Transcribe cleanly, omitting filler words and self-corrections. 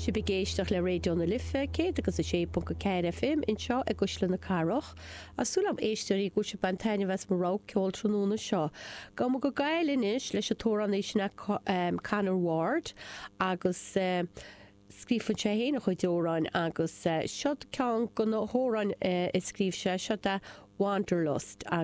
Sibh ag éisteacht le Raidió na Life 106.4 FM anseo i gCuisle na Cathrach. Tá súil agam éisteoirí go bhfuil sibh ag baint taitneamh as mo rogha ceoil tráthnóna seo. Gabhfaidh muid go Gaillimh anois leis an t-amhránaí sin Conor Ward agus scríobhann sé féin a chuid amhráin agus seo ceann de na hamhráin a scríobh sé, seo é Wanderlust.